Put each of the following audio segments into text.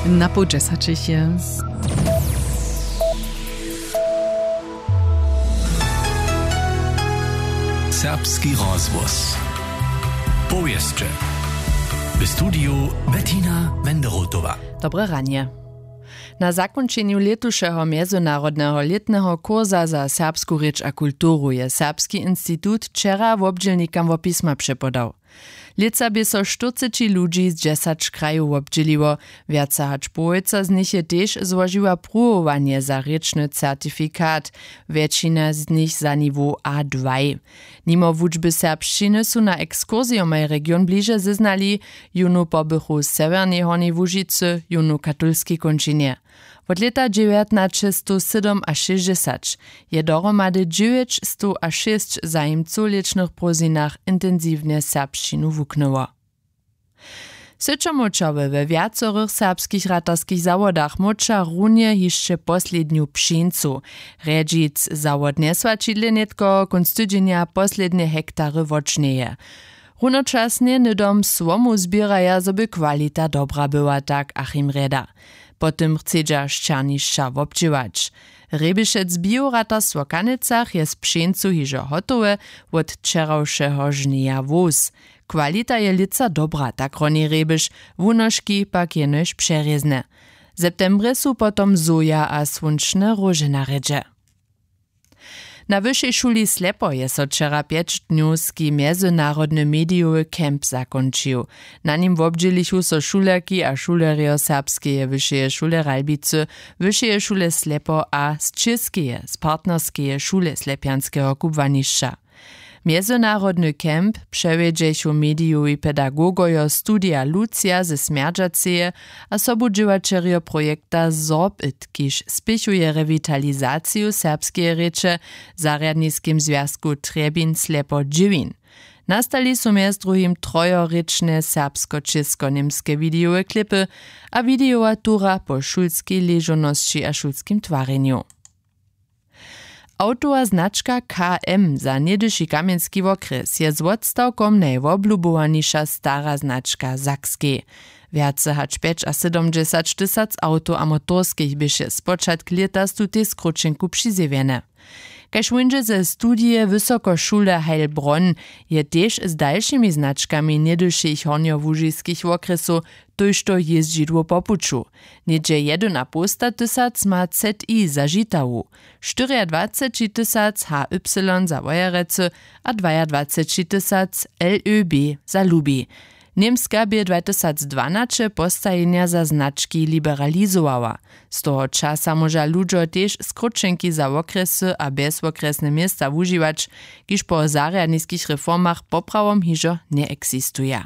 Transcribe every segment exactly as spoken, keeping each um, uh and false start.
Na połdźesaćich je. Serbski rozhłos. Powěsće. W studiju Bettina Wenderotowa. Dobre ranje. Na zakónčenju lětušeho mjezynarodneho lětneho kursa za serbsku rěč a kulturu je Serbski institut wčera wobdźělnikam wopisma přepodał. Lětsa bě so štyrceći ludźi z dźesać krajow wobdźěliło. Wjace hač połojca z nich je tež złožiła pruwowanje za rěčny certifikat, wjetšina z nich za niwow a dwaj. Nimo wučby serbšćiny su na ekskursijomaj region bliže zeznali, jónu pobychu w sewjernej hornjej łužicy, jónu w katolskej kónčinje. Wot lěta dźewjatnaćestowsydomašěsćdźesaćje dohromady dźewjećstowašěsć w zajimcow w lěćnych prózdninach intensiwnje serbšćinu wuknyło. Syćomóčerjo we wjacorych serbskich ratarskich zawodach móča runje hišće poslednju pšeńcu. Rjedźic zawod njeswaćidle nětko kónc tydźenja poslednje hektary wotžnjeje. Runočasnje hnydom słomu zběraja, zo by kwalita dobra była, tak Achim Rjeda. Po tym chcedźa šćernišća wobdźěłać. Rjebešec Bioratarstwo w Kanecach je z pšeńcu hižo hotowe wot wčerawšeho žnjeja wós. Kwalita je lětsa dobra, tak roni Rjebeš, wunožki pak jenož přerězne. W septembrje su potom soja a słónčne róže na rjedźe. Na wyšej šuli Slepo je so wčera pjeć dnjowski mjezynarodny medijowy camp zakónčił. Na nim wobdźělichu so šulerki a šulerjo Serbskeje wyšeje šule Ralbicy, wyšeje šule Slepo a z Čěskeje, z partnerskeje šule Slepjanskeho kubłanišća. Mjezynarodny camp přewjedźechu medijowi pedagogojo Studija Lucija ze Smjerdźaceje a sobudźěłaćerjo projekta Sorbit, kiž spěchuje rewitalizaciju serbskeje rěče w zarjadniskim zwjazku Trjebin Slepo Dźěwin. Nastali su mjez druhim trojerěčne serbsko-česko-němske widejowe klipy a widejowa tura po šulskej ležownosći a šulskim twarjenju. Awtowa značka K M za něhdyši kamjenski wokrjes je z wotstawkom najwoblubowaniša stara značka w Sakskej. Wjace hač pjećasydomdźesaćtysac awtow a motorskich běše spočatk lěta z tutej skróćenku přizjewjene. Kaž wón dźe ze studije Wysokošule Heilbronn, je tež z dalšimi značkami něhdyšich hornjołužiskich wokrjesow tójšto jězdźidło po puću. Něhdźe jedynapołstatysac ma Z I za Žitawu, štyriadwacećitysac H Y za Wojerecy a dwajadwacećitysac L Ö B za Lubi. Němska bě dwatysacdwanaće postajenja za znački liberalizowała. Z toho časa móža ludźo tež skróćenki za wokrjesy a bjezwokrjesne města wužiwać, kiž po zarjadniskich reformach poprawom hižo njeeksistuja.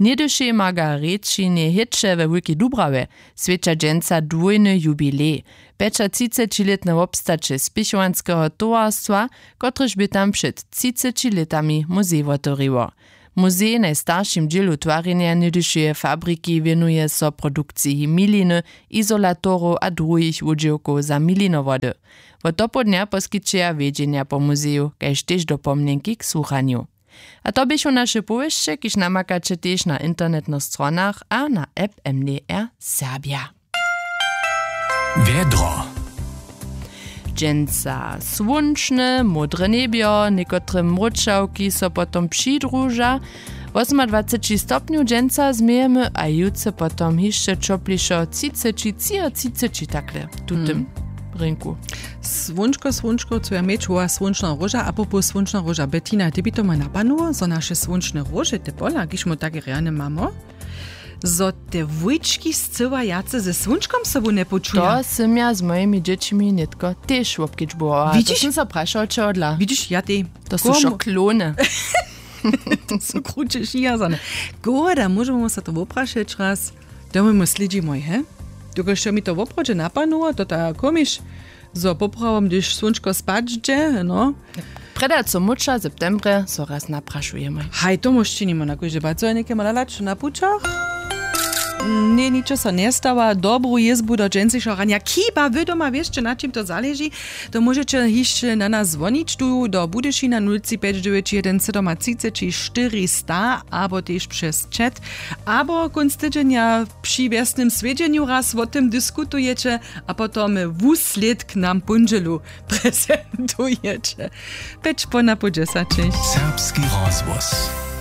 Něhdyšej Margarećinje Hěće we Wulkej Dubrawje swjeća dźensa dwójny jubilej. Pjećatřicećilětne wobstaće spěchowanskeho towarstwa, kotrež bě tam před třiceći lětami muzej wotewriło. Muzej w najstaršim dźělu twarjenja něhdyšeje fabriki wěnuje so produkciji miliny, izolatorow a druhich wudźěłkow za milinowody. Wot dopołdnja poskićeja wjedźenja po muzeju kaž tež dopomnjenki k słuchanju. A to běchu naše powěsće, kiž namakaće tež na internetnych stronach a na app M D R Serbja. Wjedro. Dźensa słónčne, módre njebjo, někotre mróčawki so potom přidruža. Wosomadwaceći stopnjow dźensa změjemy a jutře potom hišće ćoplišo, třiceći, třiatřiceći takle w tutym rinku. Słónčko, słónčko, co ja měć, woła słónčna róža, a popoł słónčna róža. Bettina, ty by to maj napadło, zo naše słónčne róže, te pola, kiž my tak rjane mamy, zo te wójčki scyła wjace ze słónčkom sobu njepočuja. To sym ja z mojimi dźěćimi nětko tež wobkedźbowała. Widziš? To sym so prašała, čehodla. Widziš, ja tej. To su wšo klony. To su kruće šijazane. Koho da, móžemy so to woprašeć raz. To my mu slědźimy, he? Dokelž mi to woprawdźe napadło, to ta komiš, zo poprawom, hdyž słónčko spać dźe, no. Prjedy co móča w septembrje so raz naprašujemy. Haj, to móž činimy na kóždy pad. Co je něke mala lać na pućach? Ně, ničo so njestawa. Dobru jězbu do dźensnišeho ranja. Chiba wy doma wěsće, na čim to zaleži, to móžeće hišće na nas zwonić tu do Budyšina, nul tři pjeć dźewjeć jedyn sydomatřiceći štyristo, abo tež přez chat, abo kónc tydźenja Při wjesnym swjedźenju raz wo tym diskutujeće, a potom wuslědk nam póndźelu prezentujeće. Pjeć po napoł dźesaćich. Serbski rozhłos.